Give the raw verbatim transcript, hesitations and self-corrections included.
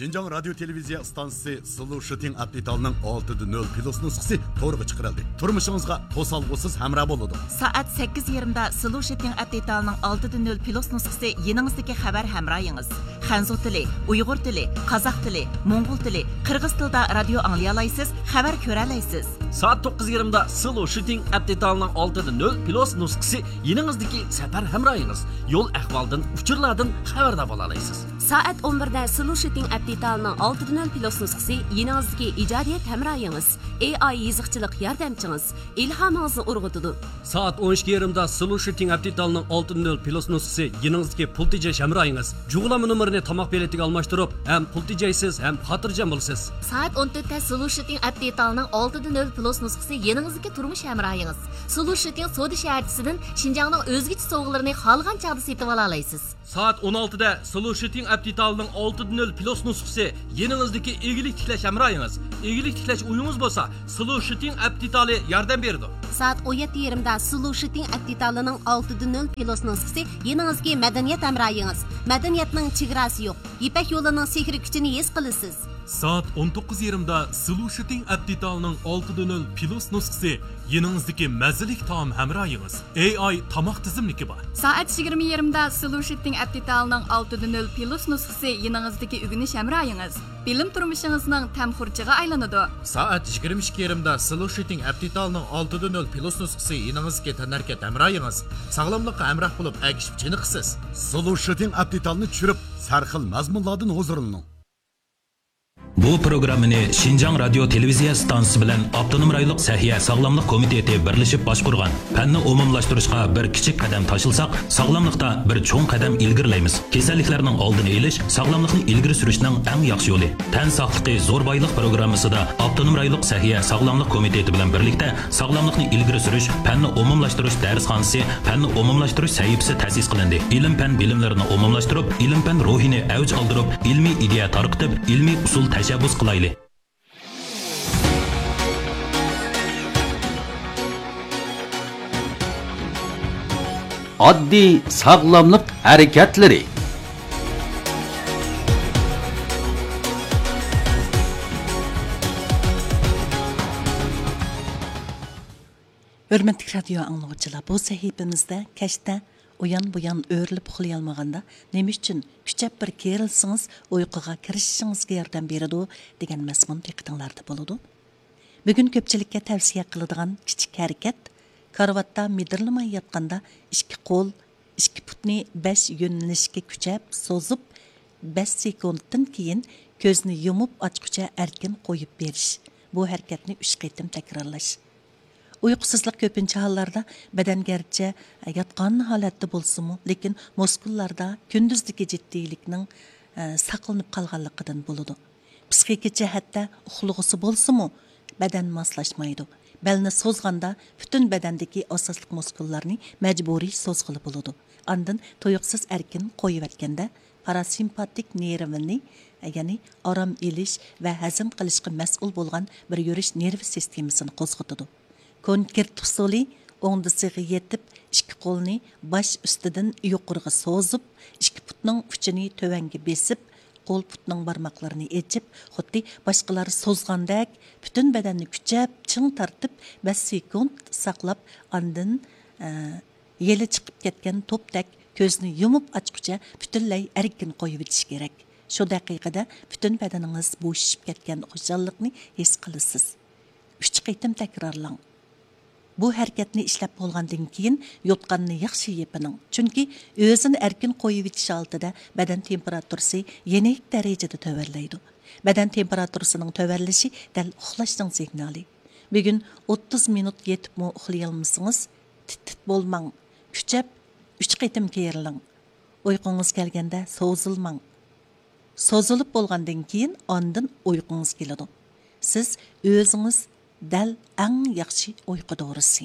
شىنجاڭ رادىيو تېلېۋىزىيە ئىستانسىسى سلوشىتىڭ ئەپ دېتالىنىڭ ئالتىدە نۆل پلۇس نۇسخىسى تورغا چىقىرىلدى. تۇرمۇشىڭىزغا توسالغۇسىز ھەمراھ بولىدۇ. سائەت سەككىز يېرىمدا سلوشىتىڭ ئەپ دېتالىنىڭ ئالتىدە نۆل پلۇس نۇسخىسى يېنىڭىزدىكى خەۋەر ھەمراھىڭىز. خەنزۇ تىلى، ئۇيغۇر تىلى، قازاق تىلى، موڭغۇل تىلى، قىرغىز تىلىدا رادىيو ئاڭلىيالايسىز، خەۋەر كۆرەلەيسىز. سائەت توققۇز يېرىمدا سلوشىتىڭ ئەپ دېتالىنىڭ ئالتىدە نۆل پلۇس نۇسخىسى يېنىڭىزدىكى سەپەر ھەمراھىڭىز. يول ئەھۋالدىن، ئۇچۇرلاردىن خەۋەردار بولالايسىز. سائەت ئون بىردە سلوشىتىڭ ئەپ دېتالىنىڭ ئالتىدە نۆل پلۇس نۇسخىسى يېنىڭىزدىكى ئىجادىيەت ھەمراھىڭىز، ئېي ئاي يېزىقچىلىق ياردەمچىڭىز، ئىلھامىڭىزنى ئۇرغۇتىدۇ. سائەت ئون ئىككى يېرىمدا سلوشىتىڭ ئەپ دېتالىنىڭ ئالتىدە نۆل پلۇس نۇسخىسى يېنىڭىزدىكى پۇل تېجەش ھەمراھىڭىز. جۇغلانما نومۇرىنى تاماق بېلىتىگە ئالماشتۇرۇپ، ھەم پۇل تېجەيسىز، ھەم خاتىرجەم بولىسىز. سائەت ئون تۆتتە سلوشىتىڭ ئەپ دېتالىنىڭ ئالتىدە نۆل پلۇس نۇسخىسى يېنىڭىزدىكى تۇرمۇش ھەمراھىڭىز. سلوشىتىڭ سودا شەھەرچىسىدىن شىنجاڭنىڭ ئۆزگىچە سوۋغىلىرىنى خالىغان چاغدا سېتىۋالالايسىز. سائەت ئون ئالتىدە سلوشىتىڭ ئەپ دېتالىنىڭ ئالتىدە نۆل پلۇس نۇسخىسى يېنىڭىزدىكى ئىگىلىك تىكلەش ھەمراھىڭىز. ئىگىلىك تىكلەش ئويىڭىز بولسا، سلوشىتىڭ ئەپ دېتالى ياردەم بېرىدۇ. سائەت ئون يەتتە يېرىمدا سلوشىتىڭ ئەپ دېتالىنىڭ ئالتىدە نۆل پلۇس نۇسخىسى يېنىڭىزدىكى مەدەنىيەت ھەمراھىڭىز. مەدەنىيەتنىڭ چېگراسى يوق. يىپەك يولىنىڭ سېھرىي كۈچىنى ھېس قىلىسىز. سائەت ئون توققۇز يېرىمدا سلوشىتىڭ ئەپ دېتالىنىڭ ئالتىدە نۆل پلۇس نۇسخىسى يېنىڭىزدىكى مەززىلىك تائام ھەمراھىڭىز. ئېي ئاي تاماق تىزىملىكى بار. سائەت يىگىرمە يېرىمدا سلوشىتىڭ ئەپ دېتالىنىڭ ئالتىدە نۆل پلۇس نۇسخىسى يېنىڭىزدىكى ئۆگىنىش ھەمراھىڭىز. بىلىم تۇرمۇشىڭىزنىڭ تەم خۇرۇچىغا ئايلىنىدۇ. سائەت يىگىرمە ئىككى يېرىمدا سلوشىتىڭ ئەپ دېتالىنىڭ ئالتىدە نۆل پلۇس نۇسخىسى يېنىڭىزدىكى تەنھەرىكەت ھەمراھىڭىز. ساغلاملىققا ھەمراھ بولۇپ، ئەگىشىپ چېنىقىسىز. سلوشىتىڭ ئەپ دېتالىنى چۈشۈرۈپ، سەرخىل مەزمۇنلاردىن ھۇزۇرلىنىڭ. بۇ پروگراممىنى شىنجاڭ رادىيو تېلېۋىزىيە ئىستانسىسى بىلەن ئاپتونوم رايونلۇق سەھىيە ساغلاملىق كومىتېتى بىرلىشىپ باشقۇرغان. پەننى ئومۇملاشتۇرۇشقا بىر كىچىك قەدەم تاشلىساق، ساغلاملىقتا بىر چوڭ قەدەم ئىلگىرىلەيمىز. كېسەللىكلەرنىڭ ئالدىنى ئېلىش ساغلاملىقنى ئىلگىرى سۈرۈشنىڭ ئەڭ ياخشى يولى. تەن ساقلىقى زور بايلىق پروگراممىسىدا ئاپتونوم رايونلۇق سەھىيە ساغلاملىق كومىتېتى بىلەن بىرلىكتە ساغلاملىقنى ئىلگىرى سۈرۈش، پەننى ئومۇملاشتۇرۇش دەرسخانىسى، پەننى ئومۇملاشتۇرۇش سەھىپىسى تەسىس قىلىندى. ئىلىم-پەن بىلىملىرىنى ئومۇملاشتۇرۇپ، ئىلىم-پەن روھىنى ئەۋج ئالدۇرۇپ، ئىلمىي ئىدىيە تارقىتىپ، ئىلمىي ئۇسۇل تەشەببۇس قىلايلى. ئاددىي ساغلاملىق ھەرىكەتلىرى. ھۆرمەتلىك رادىيو ئاڭلىغۇچىلار، بۇ سەھىپىمىزدە كەچتە ئۇيان-بۇيان ئۆرۈلۈپ ئۇخلىيالمىغاندا نېمە ئۈچۈن كۈچەپ بىر كېرىلسىڭىز ئۇيقۇغا كىرىشىشىڭىزگە ياردەم بېرىدۇ دېگەن مەزمۇن دىققىتىڭلاردا بولىدۇ. بۈگۈن كۆپچىلىككە تەۋسىيە قىلىدىغان كىچىك ھەرىكەت، كارىۋاتتا مىدىرلىماي ياتقاندا ئىككى قول، ئىككى پۇتنى بەش يۆنىلىشكە كۈچەپ سوزۇپ، بەش سېكۇنتتىن كېيىن كۆزنى يۇمۇپ ئاچقۇچە ئەركىن قويۇپ بېرىش. بۇ ھەرىكەتنى ئۈچ قېتىم تەكرارلاش. ئۇيقۇسىزلىق كۆپىنچە ھاللاردا بەدەن گەرچە ياتقان ھالەتتە بولسىمۇ، لېكىن مۇسكۇللاردا كۈندۈزدىكى جىددىيلىكنىڭ، ئە، ساقلىنىپ قالغانلىقىدىن بولىدۇ. پىسخىكا جەھەتتە ئۇخلىغۇسى بولسىمۇ، بەدەن ماسلاشمايدۇ. بەلنى سوزغاندا پۈتۈن بەدەندىكى ئاساسلىق مۇسكۇللارنى مەجبۇرىي سوزغىلى بولىدۇ. ئاندىن تۇيۇقسىز ئەركىن قويۇۋەتكەندە، پاراسىمپاتىك نېرۋىنى، يەنى ئارام ئېلىش ۋە ھەزىم قىلىشقا مەسئۇل بولغان بىر يۈرۈش نېرۋا سىستېمىسىنى قوزغىتىدۇ. كونكرېت ئۇسۇلى، ئوڭدىسىغا يېتىپ، ئىككى قولنى باش ئۈستىدىن يۇقىرىغا سوزۇپ، ئىككى پۇتنىڭ ئۇچىنى تۆۋەنگە بېسىپ، قول پۇتنىڭ بارماقلىرىنى ئېچىپ، خۇددى باشقىلار سوزغاندەك پۈتۈن بەدەننى كۈچەپ چىڭ تارتىپ، بەش سېكۇنت ساقلاپ، ئاندىن، ئە، يېلى چىقىپ كەتكەن توپتەك كۆزنى يۇمۇپ ئاچقۇچە پۈتۈنلەي ئەركىن قويۇۋېتىش كېرەك. شۇ دەقىقىدە پۈتۈن بەدىنىڭىز بوشىشىپ كەتكەن خۇشاللىقنى ھېس قىلىسىز. ئۈچ قېتىم تەكرارلاڭ. بۇ ھەرىكەتنى ئىشلەپ بولغاندىن كېيىن يوتقاننى ياخشى يېپىنىڭ، چۈنكى ئۆزىنى ئەركىن قويۇۋېتىش ھالىتىدە بەدەن تېمپېراتۇرىسى يېنىك دەرىجىدە تۆۋەنلەيدۇ. بەدەن تېمپېراتۇرىسىنىڭ تۆۋەنلىشى دەل ئۇخلاشنىڭ سىگنالى. بۈگۈن ئوتتۇز مىنۇت يېتىپمۇ ئۇخلىيالمىسىڭىز، تىت-تىت بولماڭ، كۈچەپ ئۈچ قېتىم كېرىلىڭ. ئۇيقۇڭىز كەلگەندە سوزۇلماڭ. سوزۇلۇپ بولغاندىن كېيىن ئاندىن ئۇيقۇڭىز كېلىدۇ. سىز ئۆزىڭىز دەل ئەڭ ياخشى ئۇيقۇ دورىسى.